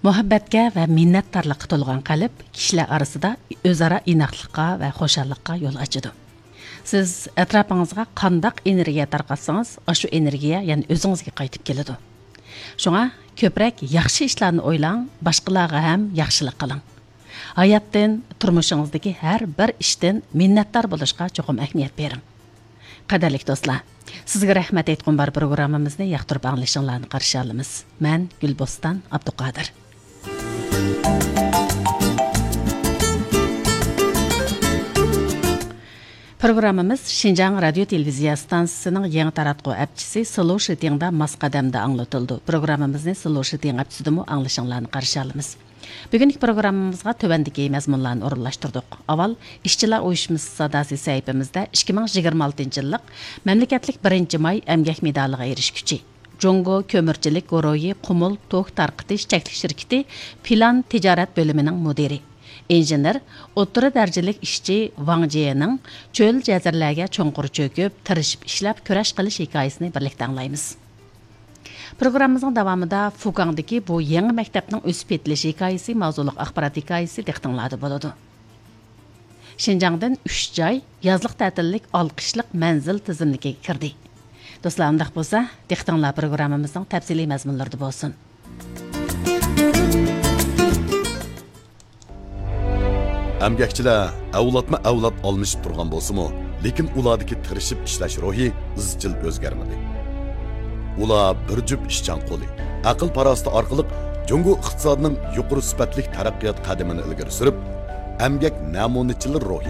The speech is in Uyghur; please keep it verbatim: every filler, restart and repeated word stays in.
مۇھەببەتكە ۋە مىننەتدارلىققا تولغان قەلب كىشىلەر ئارىسىدا ئۆزئارا ئىناقلىققا ۋە خۇشاللىققا يول ئاچىدۇ. سىز ئەتراپىڭىزغا قانداق ئېنېرگىيە تارقاتسىڭىز، ئاشۇ ئېنېرگىيە يەنە ئۆزىڭىزگە قايتىپ كېلىدۇ. شۇڭا كۆپرەك ياخشى ئىشلارنى ئويلاڭ، باشقىلارغا ھەم ياخشىلىق قىلىڭ. ھاياتتىن، تۇرمۇشىڭىزدىكى ھەر بىر ئىشتىن مىننەتدار بولۇشقا چوقۇم ئەھمىيەت بېرىڭ. قەدىرلىك دوستلار، سىزگە رەھمەت ئېيتقۇم بار پروگراممىمىزنى ياقتۇرۇپ ئاڭلىشىڭلارنى قارشى ئالىمىز. مەن گۈلبوستان ئابدۇقادىر. پروگراممىمىز شىنجاڭ رادىيو تېلېۋىزىيە ئىستانسىسىنىڭ يېڭى تاراتقۇ ئەپچىسى سلو شىتىڭدا ماس قەدەمدە ئاڭلىتىلىدۇ. پروگراممىمىزنى سلو شىتىڭ ئەپچىسىدىمۇ ئاڭلىشىڭلارنى قارشى ئالىمىز. بۈگۈنكى پروگراممىمىزغا تۆۋەندىكى مەزمۇنلارنى ئورۇنلاشتۇردۇق. ئاۋۋال، ئىشچىلار ئۇيۇشمىسى ساداسى سەھىپىمىزدە ئىككى مىڭ يىگىرمە ئالتىنچى يىللىق مەملىكەتلىك بىرىنچى ماي ئەمگەك مېدالىغا ئېرىشكۈچى، جۇڭگو كۆمۈرچىلىك گۇرۇھى قۇمۇل توك تارقىتىش چەكلىك شىركىتى پىلان تىجارەت بۆلۈمىنىڭ مۇدىرى، ئىنژېنېر، ئوتتۇرا دەرىجىلىك ئىشچى ۋاڭ جيېنىڭ چۆل جەزىرىلەرگە چوڭقۇر چۆكۈپ، تىرىشىپ ئىشلەپ، كۈرەش قىلىش ھېكايىسىنى بىرلىكتە ئاڭلايمىز. پروگراممىمىزنىڭ داۋامىدا فۇكاڭدىكى بۇ يېڭى مەكتەپنىڭ ئۆسۈپ يېتىلىش ھېكايىسى ماۋزۇلۇق ئاخبارات ھېكايىسى دىققىتىڭلاردا بولىدۇ. شىنجاڭدىن ئۈچ جاي يازلىق تەتىللىك ئالقىشلىق مەنزىل تىزىملىكىگە كىردى. دوستلار، ئۇنداق بولسا، دىققىتىڭلار پروگراممىمىزنىڭ تەپسىلىي مەزمۇنلىرىدا بولسۇن. ئەمگەكچىلەر ئەۋلادمۇ ئەۋلاد ئالمىشىپ تۇرغان بولسىمۇ، لېكىن ئۇلاردىكى تىرىشىپ ئىشلەش روھى ئىزچىل ئۆزگەرمىدى. ئۇلار بىر جۈپ ئىشچان قولى، ئەقىل-پاراسىتى ئارقىلىق جۇڭگو ئىقتىسادىنىڭ يۇقىرى سۈپەتلىك تەرەققىيات قەدىمىنى ئىلگىرى سۈرۈپ، ئەمگەك نەمۇنىچىلىرى روھى،